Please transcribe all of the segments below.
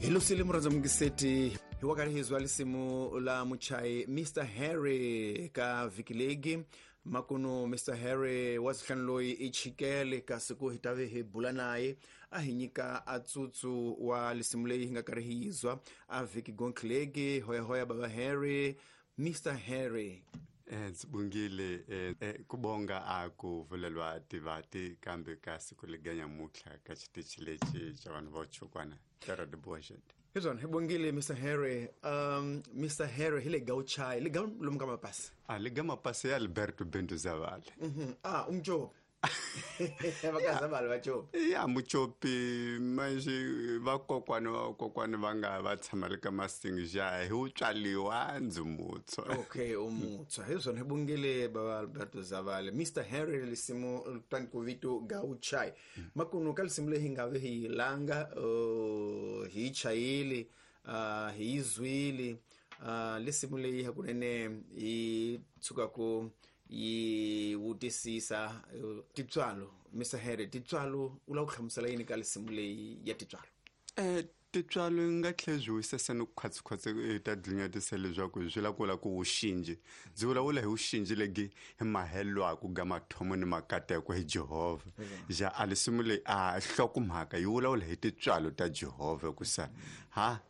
Hi lusile murhandza mungiseti hi wa karhi hi zwa lisimu la muchayi Mr Harry ka vhiki legi makunu. Mr Harry wa zihlanu loyi i chikele kasi ku hi tave hi bula naye a hi nyika a tsutsu wa lisimu leyi hi nga karhi hi yizwa a vhiki gonklegi. Hoyahoya baba Harry, Mr Harry. Ndzi bungile ku bonga a ku vulelwa tivati kambe ka siku leganyamutlha ka xitichi lexi xa vanhu vo chukwana ta Radio Boxet. Hi swona, hi bongile Mr Harry. Mr Harry hi le Gauchai le ga lomu ka mapasi. A le ga mapasi ya Alberto Bento Zavale. Ah, umjopi vakazavale vacopi. Ya mucopi manje vakokwani vakokwani va nga va tshama le ka masingi ja hi wu tswaliwa ndzi mutshwa. Okay, umutshwa, hi swona, hi bongile baba Alberto Zavale. Mr Harry, lisimu tani ku vito Gauchai makunu ka lisimu leyi hi nga ve hi yi langa, hi yi chayile, hi yi zwile, lisimu leyi hakunene yi tshukaku yi vutisisa titswalo. Mr Harry, titswalo u lava ku hlamusela yini ka lisimu leyi ya titswalo? Titswalo yi nga tlhela byi wisesa ni khwatsikhwatsi ta dlinyatisa leswaku swi la ku la ku wuxinji ndzi vulavula hi wuxinji legi hi mahelwaku ga mathomo ni makateko hi Jehovha. Ja a lisimu leyi a hlokomhaka yi vulavula hi titswalo ta Jehovha kusa ha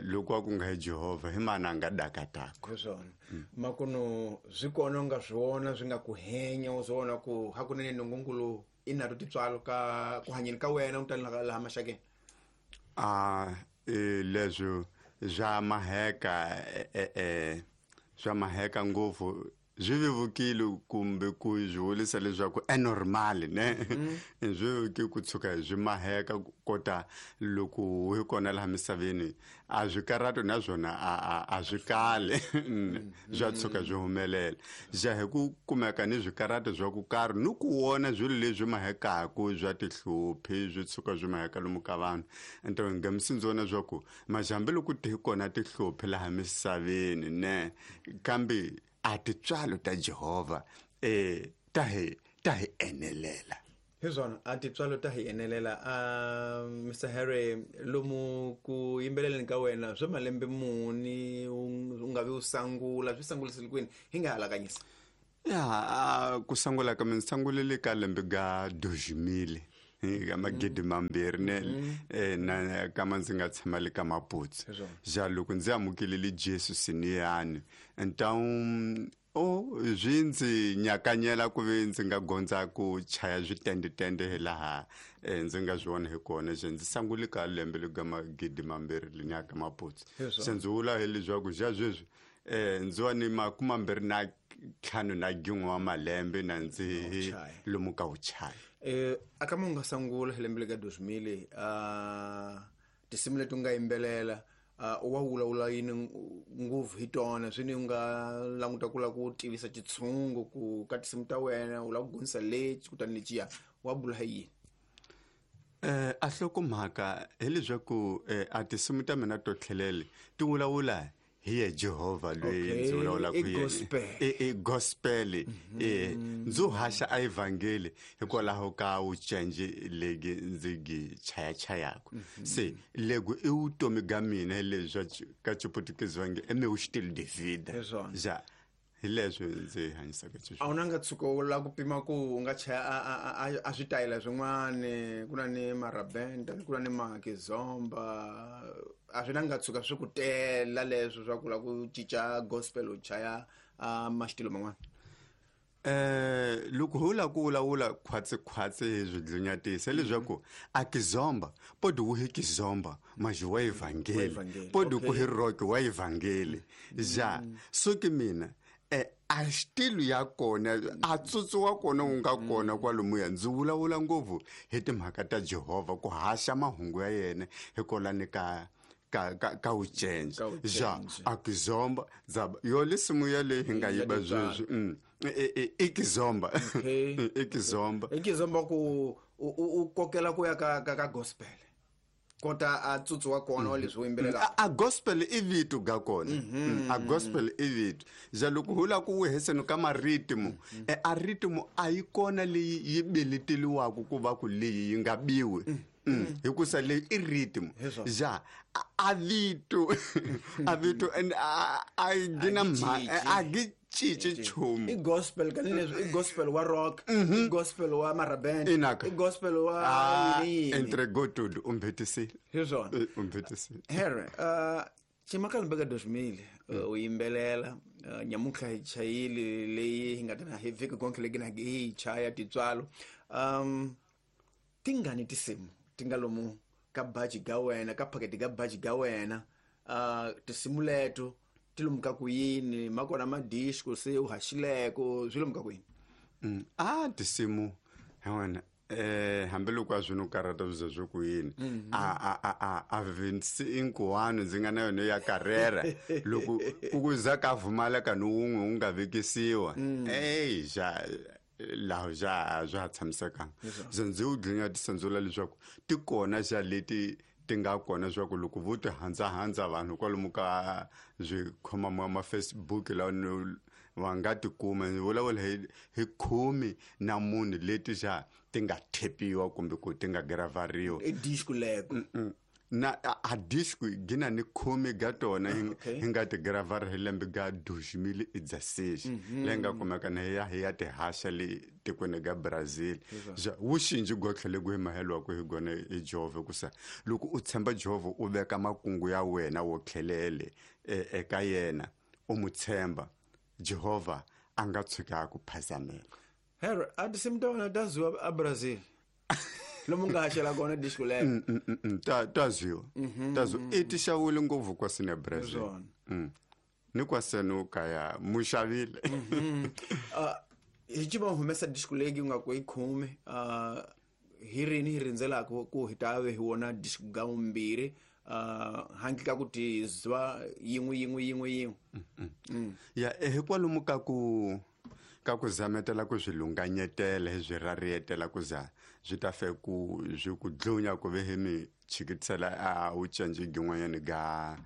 loko a ku nga hi Jehovha hi mana a nga dakatako. Hi swona makunu swi kona u nga swi vona swi nga ku henya u swi vona ku hakunene nungungulu i nato titswalo ka ku hanyeni ka wena u tani laha maxakeni. A leswo swa maheka swa maheka ngopfu swi vevukile kumbe ku swi vulisa leswaku e normal ne swi vevukile ku tshuka swi maheka kota loko hi kona laha misaveni a swi karato naswona a swi kali swa tshuka swi humelela ja hi ku kumeka ni swikarato swa ku karhi ni ku vona swilo leswi mahekaku swa tihluphi swi tshuka swi maheka lomu ka vanhu nto ngamisi ndzi vona swa ku majambe loko ti kona tihluphi laha misaveni ne kambe a titswalo ta Jehovha ta hi enelela. Hi swona, a titswalo ta hi enelela. Mr Harry, lomu ku yimbeleleni ka wena swa malembe muni u nga vi u sangula swi sangulisile kwini hi nga halakanyisa? Ya ku sangula ka mina sangulele ka lembe ga 2000 ka 2000 ne na kama ndzi nga tshama le ka Maputsu. Ja loko ndzi amukelele Jesu siniyani ntawu o swi ndzi nyakanyela ku ve ndzi nga gondza ku chaya switendetende hi laha ndzi nga swi vona hi kona. Se ndzi sangule ka lembe le ka 2000 leniya ka Maputsu. Se ndzi vula hi leswaku ja sweswi ndzi wa ni 25 na gin'we wa malembe na ndzi lomu ka vuchaya. A ka mu nga sangula hi lembe le ka 2000, tinsimu leti u nga yimbelela wa vulavula yini ngopfu hi tona swi ni u nga languta ku lava ku tivisa xitshungu ku ka tinsimu ta wena u lava ku gonisa lexi kutani lexiya wa bula hi yini? A hlokomhaka hileswaku a tinsimu ta mina to tlhelele ti vulavula hi ye Jehovha loyi ndzi vulavulaka hi yena. I gospel. Ndzi haxa a evhangeli hikwalaho ka wucenji legi ndzi gi chayachayaka. Se lego i vutomi bya mina leswi ka Chiputukezi va nge i meu estilo de vida. Ja hi leswi ndzi hanyisaka xiswona. A wu na nga tshuka u lava ku pima ku u nga chaya a switayela swin'wana ku na ni marabenda ku na ni makizomba a swi na nga tshuka swi ku tela leswo swa ku lava ku cinca gospel u chaya maxitilo man'wana? Loko ho lava ku vulavula khwatsi hi swi dlinyatisa leswaku a kizomba podi wu hi kizomba maji wa evhangeli podi ku hi rock wa evhangeli ja so ke mina a xitilu ya kona a tsutsu wa kona wu nga kona kwalomuya ndzi vulavula ngopfu hi timhaka ta Jehovha ku haxa mahungu ya yena hikwalani ka ka wucenje ja a kizomba dzaba yo lisimu ya leyi hi nga yiba sweswi i kizomba. I kizomba. I kizomba ku u kokela ku ya ka gospel kota a tsutsu wa kona wa leswi u yimbelelaka. A gospel i vito ga kona. A gospel i vito ja loko hu lava ku weheseni ka maritimu a ritimu a yi kona leyi yi beleteliwaka ku va ku leyi yi nga biwi. Hikusa leyi i rhythm. Ja a vito a vito and a gina a gi cinci nchumu. I gospel ka leswi, i gospel wa rock, i gospel wa maraband, i gospel wa yini. Entregou tudo, umbhetisile. Hi swona. Umbhetisile. Here, Chimaka ka 2000 u yimbelela nyamuntlha hi chayile leyi hi nga ta na hi vhiki konke leyi na hi chaya titswalo. Tingani tinsimu ti nga lomu ka baji ga wena, ka phaketi ga baji ga wena, tinsimu leto ti lomu ka ku yini, makona ma disco se u haxileko, swi lomu ka ku yini? Tinsimu ha wena hambiloko a swi no karhata swi ze swi ku yini, a 25 ndzi nga na yona ya karera loko ku za ka vumaleka ni wun'we wu nga vekisiwa, ey ja laha ja swa ha tshamisekanga. Se ndzi wu dlinya tisandzula leswaku ti kona xa leti ti nga kona swa ku loko vo ti handzahandza vanhu kwalomu ka swikhoma ma Facebook lawa va nga tikuma. Ndzi vulavula hi 14 leti xa ti nga thepiwa kumbe ku ti nga gravariwa. I disco leko. Na a disco gina ni 10 ga tona hi nga ti gravar hi lembe ga 2016 leyi nga kumeka na ya hi ya tihaxa le tikweni ga Brazil. Wu xinji gotlhe le ku hi mahelwa ku hi gona hi Jehovha, kusa loko u tshemba Jehovha u veka makungu ya wena wo tlhelele eka yena, u mu tshemba Jehovha a nga tshuka a ku phazamela. Here, a tinsimu ta wena ta ziwa a Brazil lomu nga haxela kona disco leyo? Ta zwiwa, ta zwiwa, i ti xavule ngopfu kwasini ya Brazil. Ni kwasenu kaya mu xavile. Hi civa humesa disco leyi nga ku i 10, hi rini hi rindzelaka ku hi ta ve hi wona disco ga vumbirhi, handle ka ku ti zwa yin'we yin'we yin'we yin'we? Ya, hi kwalomu ka ku zametela ku swi lunganyetela, hi swi rarietela ku za swi ta fe ku swi ku dlunya ku ve hi mi chikitisela a wu cinci gin'wanyani ga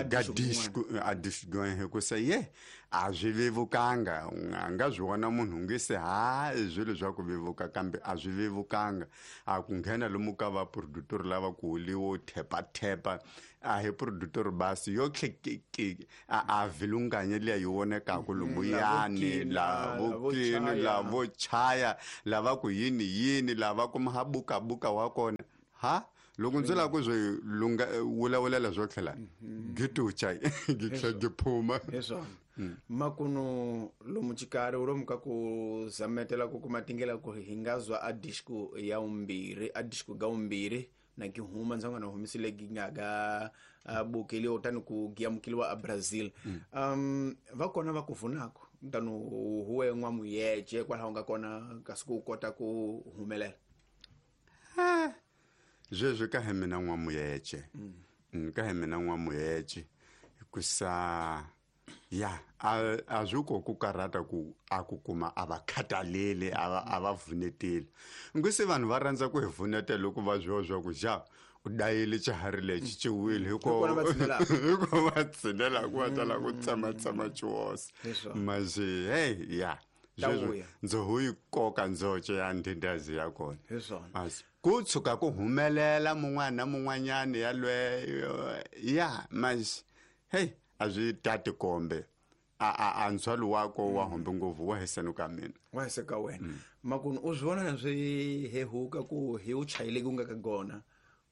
ga disco a disco hi ku se ye a swi vevukanga. A nga swi vona munhu nge se ha swilo swa ku vevuka, kambe a swi vevukanga. A ku nghena lomu ka va producer lava ku huliwo thepa thepa, a hi producer basi yo tlhe a vilunganye liya yi vonekaku lumuyani, lavokini lavo chaya lava ku yini yini lava kuma ha buka buka wa kona. Ha loko ndzi lava ku swi lunga vulavulela swo tlhela gitucha gi tlhela gi phuma. Hi swona. Makunu lomu xikarhi lomu ka ku zametela ku kuma tindlela ku hi nga zwa a disco ya vumbirhi, a disco ga vumbirhi na ki huma ndzi nga na humisile gi nga ga bukeliwa tani ku giyamukeliwa a Brazil. Va kona va ku vunako tani huwe n'wamuyece kwalaho nga kona kasi ku kota ku humelela? Sweswi ka hi mina n'wamuyece, ka hi mina n'wamuyece, hikusa ya a swi ko ku karhata ku a ku kuma a va khataleli, a va vuneteli. Ngwisi vanhu va rhandza ku hi vunetela loko va swi swa ku ja u dayile xiharhi lexi xi wile, Hikona va tshinelaka. Hiko va tshinelaka va tala ku tsematsema xihosi. Manje hey ya Ta sweswi vuya. ndzo hu yi koka ndzoce ya ndhindazi ya kona. Hi swona. Asi ku tshuka ku humelela mun'wana na mun'wanyana yalweyo ya manje hey a swi tati kombe a ndzhwalo wako wa hombe ngopfu wa hisenu ka mina. Wa hise ka wena. Makunu u swi vona na swi hehuka ku hi u chayile ku nga ka gona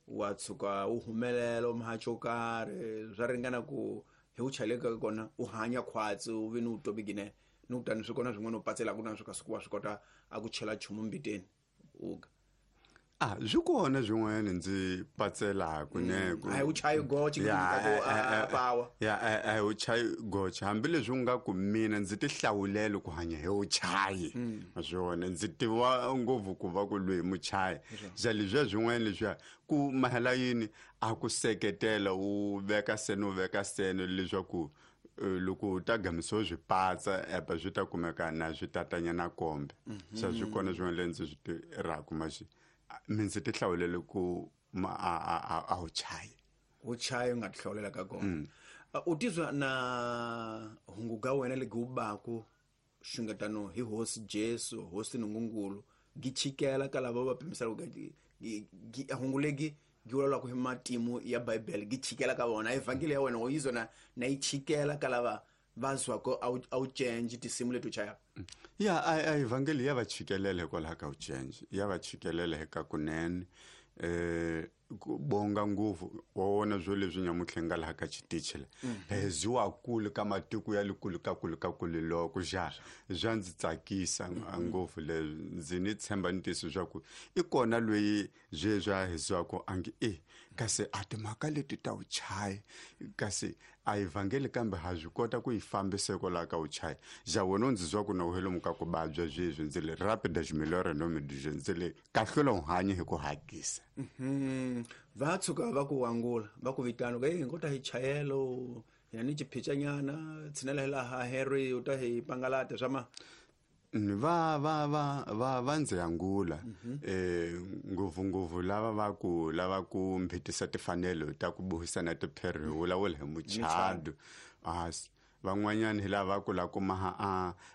wa tshuka u humelela u muhaxo wo karhi, swa ringana ku hi u chayile ka kona u hanya khwatsi u ve ni vutomi ginene ni kutani swi kona swin'wana u patselaka na swi kasi ku wa swi kota a ku chela nchumu mbiteni u ga? A swi kona swin'wana ndzi patselaku ne ku A hi u chayi goche ku Ya, nyika ku a power. Ya, a hi u chayi goche, hambileswi u nga ku mina ndzi ti hlawulele ku hanya hi u chayi swona, ndzi tiva ngopfu ku va ku lweyi muchayi ja leswiya swin'wana leswiya ku mahela yini a ku seketela u veka sene u veka sene leswaku loko u ta gamisiwa swipatsa epa swi ta kumeka na swi tatanyana kombe se swi kona swin'wana leswi ndzi swi tirhaka maxi mi ndzi ti hlawulele ku ma a wu chayi. U chayi u nga ti hlawulela ka kona. U tizwa na hungu ga wena legi wu baku xungetano hi hosi Jesu, hosi Nungungulu, gi chikela ka lava va pimisaka Hungu legi gi vulavulaka hi matimu ya Bibele gi chikela ka vona evhangeli ya wena u yizona na yi chikela ka lava va zwako a wu change tinsimu leti u chayaka. Ya a evhangeli ya va chikelela hikwalaho ka u change, ya va chikelela hi ka kunene. Ku bonga ngopfu wa wona swo leswi nyamutlha nga laha ka xitichi la heziwa kule ka matiko ya le kule ka kule ka kule loko ja swa ndzi tsakisa ngopfu leswi. Ndzi ni tshemba ni tiyiso swa ku i kona loyi sweswi a heziwaka a nge e kasi a timhaka leti ta vuchayi kasi a evhangeli kambe ha swi kota ku yi fambisa kwalaho ka vuchayi. Ja wena u ndzi zwa ku na u lomu ka ku vabya sweswi ndzi le rapida ximilore nomidije ndzi le kahlula u hanya hi ku hakisa. Va tshuka va ku angula va ku vitana ku hey ngo ta hi chayelo hina ni chiphicanyana tshinela hi laha Harry u ta hi pangalata swa ma va va va va va ndzi angula. Ngopfu ngopfu lava va ku lava ku mphitisa timfanelo ta ku buhisana tipherhi vulavula hi muchado. Van'wanyana hi lava ku la kuma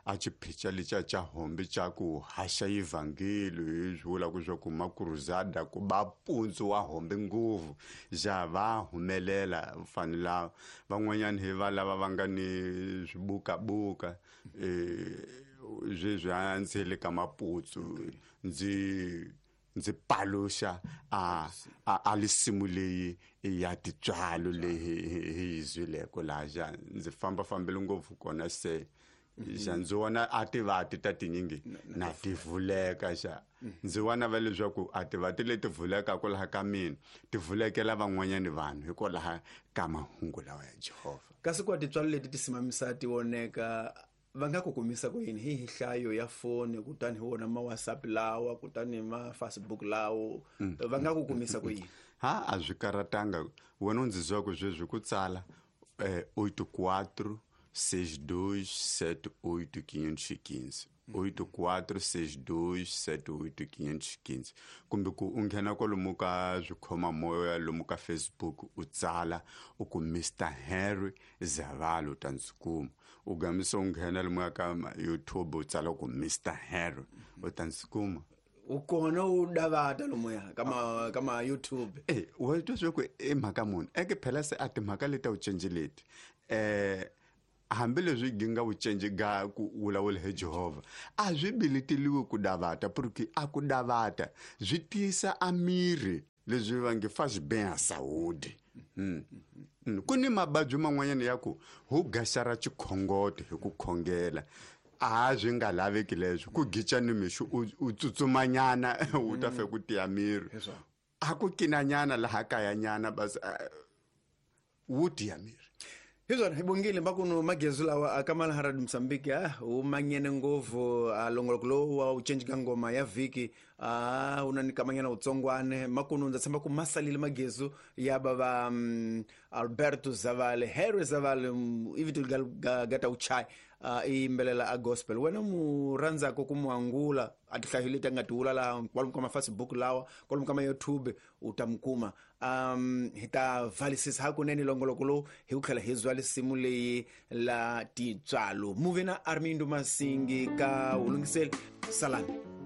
a xiphica lexiya xa hombi xa ku haxa evhangeli hi swi vulaka swa ku makuruzada ku ba mpundzu wa hombi ngopfu ja va humelela vanhu lava. Van'wanyana hi va lava va nga ni swibukabuka sweswi a ndzi le ka maputsu ndzi paluxa a lisimu leyi ya titswalo leyi hi yi zwileko laha ja ndzi fambafambile ngopfu kona se xa ndzi vona a tivati ta tinyingi na ti vuleka xa ndzi vona va leswaku a tivati leti vulekaka laha ka mina ti vulekela van'wanyani vanhu hikwalaho ka mahungu lawa ya Jehovha. Kasi kwa titswalo leti ti simamisa ti voneka va nga ku kumisa ku yini hi hlayo ya foni kutani hi wona ma WhatsApp lawa kutani ma Facebook lawo va nga ku kumisa ku yini? Ha a swi karatanga wena u ndzi zwa ku sweswi ku tsala 84 62 78 515 84 62 78 515 kumbe ku u nghena kwalomu ka swikhomamoya lomu ka Facebook u tsala u ku Mr Harry Zavalo ta ndzi kuma. U gamisa u nghena lomu ka YouTube u tsala ku Mr Harry u ta ndzi kuma. U kona u davata lomuya kama YouTube. Wa twa swa ku i mhaka muni eke phela se a timhaka leti a wu cinci leti hambileswi gi nga vucinci ga ku vulavula hi Jehovha a swi bileteliwi ku davata porque a ku davata swi tiyisa a miri leswi va nge faz bem a saúde. Ku ni mavabyi man'wanyana ya ku hu gaxara xikhongoto hi ku khongela a swi nga laveki leswo ku gica ni mixo u tsutsumanyana u ta fe ku tiya miri a ku kinanyana laha kayanyana basi wu tiya miri. Hi swona hi bongile makuno magezu lawa a ka Malaharad Mozambique wu manyene ngopfu a longoloko lowu wa u cinci ka ngoma ya vhiki a wu na ni kamanyana wutsongwane makuno ndza tshemba ku ma salile magezu ya bava Alberto Zavale Harry Zavale i vito ga ta uchai i yimbelela a gospel. Wena mu rhandzaka ku mu angula a tihlayo leti a nga ti vula laha kwalomu ka ma-Facebook lawa kwalomu ka ma-YouTube u ta mu kuma. Hi ta valisisa hakunene longoloko lowu hi ku tlhela hi zwa lisimu leyi la titswalo. Muve na Armindo Masingi ka wulungiseli salani.